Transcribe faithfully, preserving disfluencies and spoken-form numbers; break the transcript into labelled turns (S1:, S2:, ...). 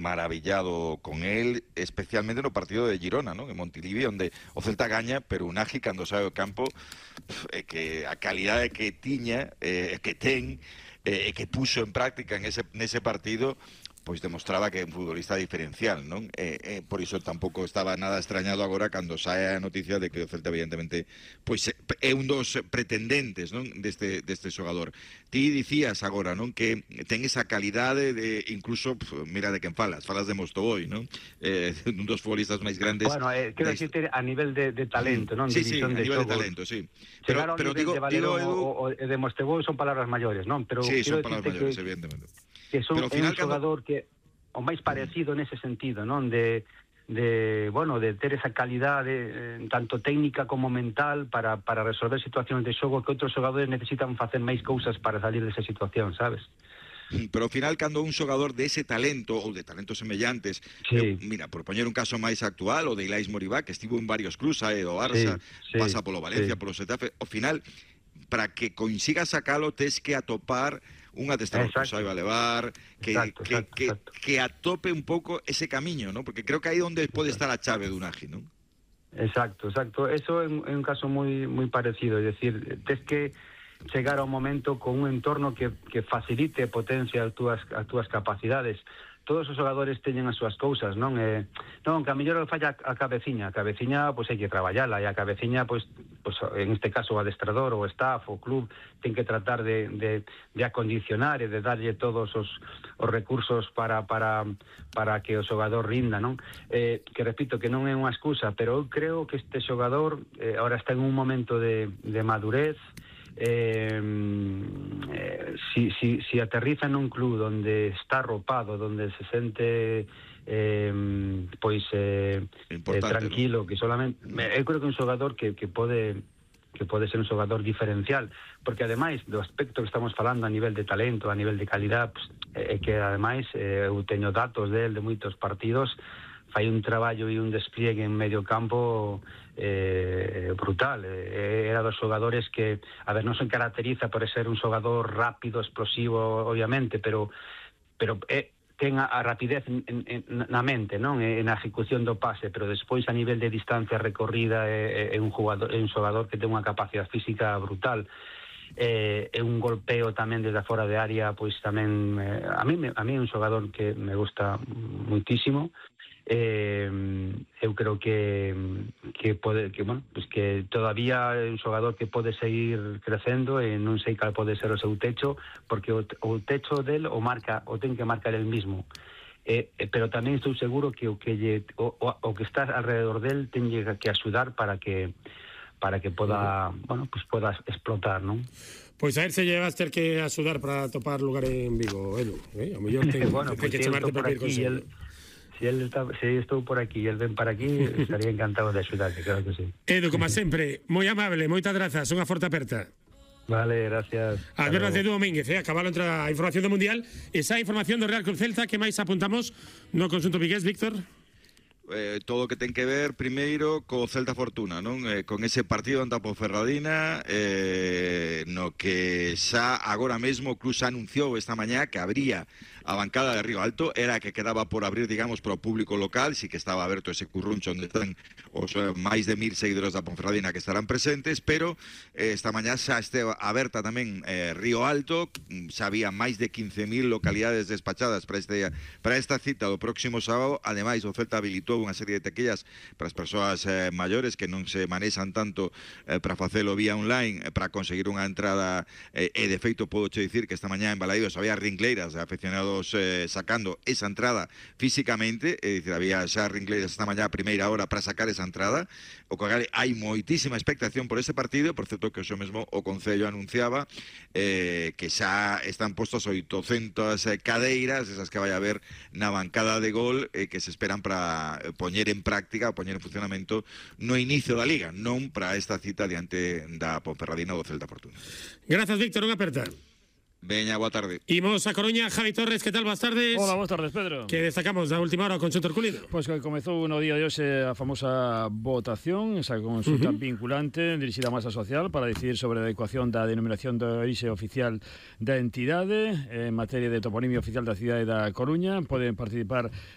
S1: maravillado con él, especialmente no partido de Girona, ¿no? En Montilivi, onde o Celta gaña, pero un Unagi cando sae do campo, é que a calidade que tiña, eh, que ten, e eh, que puxo en práctica en ese, nese partido, pois demostraba que é un futbolista diferencial, non? Eh, eh, por iso tampouco estaba nada extrañado agora cando sae a noticia de que o Celta evidentemente pois é un dos pretendentes, non, deste deste xogador. Ti dicías agora, non, que ten esa calidade de incluso, mira de quen falas, falas de Mostoboi, non? Eh, un dos futbolistas máis grandes.
S2: Bueno, eh, quero dicirte a nivel de, de talento, non?
S1: Sí, sí, a
S2: de
S1: nivel
S2: xogos.
S1: de talento, sí.
S2: Pero,
S1: Pero, pero
S2: digo,
S1: digo,
S2: de Valerón
S1: digo, Edu...
S2: o, o de Mostoboi son palabras maiores, non? Pero
S1: sí, son palabras maiores,
S2: que,
S1: evidentemente.
S2: Que son
S1: pero, final,
S2: un xogador cando... que o máis parecido nese sentido, non? De, de, bueno, de ter esa calidade eh, tanto técnica como mental para, para resolver situacións de xogo que outros xogadores necesitan facer máis cousas para salir desa situación, sabes?
S1: Pero ao final, cando un xogador dese talento ou de talentos semellantes,
S2: sí.
S1: eh, mira, por poñer un caso máis actual, o de Ilais Moribá, que estivo en varios clubs, aí do Barça, sí, sí, pasa polo Valencia, sí. polo Xetafe, ao final, para que consiga sacalo, tes que atopar un adestrador que saiba levar, que,
S2: exacto,
S1: que,
S2: exacto,
S1: que,
S2: exacto.
S1: que atope un pouco ese camiño, ¿no? Porque creo que aí onde pode estar a chave do Unagi, ¿no?
S2: Exacto, exacto. Eso é un, é un caso moi moi parecido, é dicir, tes que chegar ao momento con un entorno que, que facilite e potencia as túas, as túas capacidades. Todos os xogadores teñen as súas cousas, non? Eh, non, que a mellor falla a cabeciña, a cabeciña, pois hai que traballala, e a cabeciña, pois, pois en este caso o adestrador, o staff, o club, ten que tratar de, de, de acondicionar e de darlle todos os, os recursos para, para, para que o xogador rinda, non? Eh, que repito, que non é unha excusa, pero eu creo que este xogador eh, ahora está en un momento de, de madurez. Eh, eh, si, si, si aterriza nun club donde está arropado, donde se sente eh, pois eh, eh, tranquilo, ¿no? Que solamente eu creo que un xogador que, que pode que pode ser un xogador diferencial, porque ademais do aspecto que estamos falando a nivel de talento, a nivel de calidad, pues, é que ademais eh, eu teño datos del de moitos partidos, fai un traballo e un despliegue en medio campo eh, brutal. Eh, era dos xogadores que, a ver, non se caracteriza por ser un xogador rápido, explosivo, obviamente, pero pero eh, ten a, a rapidez en, en, na mente, non? En a ejecución do pase, pero despois a nivel de distancia recorrida é, é un jugador, é un xogador que ten unha capacidade física brutal. Eh, é un golpeo tamén desde fora de área, pois tamén eh, a mí a mí é un xogador que me gusta muitísimo. Eh, eu creo que que pode que bueno, pues que todavía é un xogador que pode seguir crecendo e non sei cal pode ser o seu techo, porque o, o techo del o marca, o ten que marcar el mismo. Eh, eh, pero tamén estou seguro que o que lle, o, o, o que está alrededor del ten que axudar para que para que poda, bueno, pues poda explotar, non?
S3: Pois a ver se llevas ter que axudar para topar lugar en Vigo, Edu, eh? A mellor ten,
S2: bueno,
S3: ten
S2: pues
S3: que chamarte para ir con
S2: el, si él está, si estou por aquí e el ven para aquí, estaría encantado de axudarte, claro que sí.
S3: Edu, como sempre, moi amable, moitas grazas, unha forte aperta.
S2: Vale, gracias.
S3: As veras de Edu Domínguez, eh? Acabalo entre a información do Mundial, esa información do Real Club Celta, que máis apuntamos no conxunto vigués, Víctor?
S1: Eh, todo o que ten que ver primeiro co Celta Fortuna, non? Eh, con ese partido ante a Ponferradina, eh, no que xa agora mesmo o club xa anunciou esta mañá que habría a bancada de Río Alto, era a que quedaba por abrir, digamos, para o público local, si que estaba aberto ese curruncho onde están os eh, máis de mil seguidores da Ponferradina que estarán presentes, pero eh, esta mañá xa este aberta tamén eh, Río Alto, xa había máis de quince mil localidades despachadas para, este, para esta cita do próximo sábado. Ademais, o Celta habilitou unha serie de tequillas para as persoas eh, maiores que non se manexan tanto eh, para facelo vía online, eh, para conseguir unha entrada, eh, e de feito podo che dicir que esta mañá en Balaídos había ringleiras de aficionados eh, sacando esa entrada físicamente, é dicir, había xa ringleiras esta mañá a primeira hora para sacar esa entrada, o que hai moitísima expectación por ese partido. Por certo que o mesmo o Concello anunciaba eh, que xa están postos oitocentas eh, cadeiras, esas que vai a haber na bancada de Gol, eh, que se esperan para poñer en práctica, poñer en funcionamento no inicio da Liga, non para esta cita diante da Ponferradina do Celta Fortuna.
S3: Grazas, Víctor, unha aperta.
S1: Veña, boa tarde.
S3: Imos a Coruña, Javi Torres, que tal? Boas tardes.
S4: Hola, boas tardes, Pedro.
S3: Que destacamos da última hora con Conxunto Herculino?
S4: Pois pues que comezou no día de hoxe a famosa votación, esa consulta uh -huh. vinculante dirixida á masa social para decidir sobre a adecuación da denominación de orixe oficial da entidade en materia de toponimio oficial da cidade da Coruña. Poden participar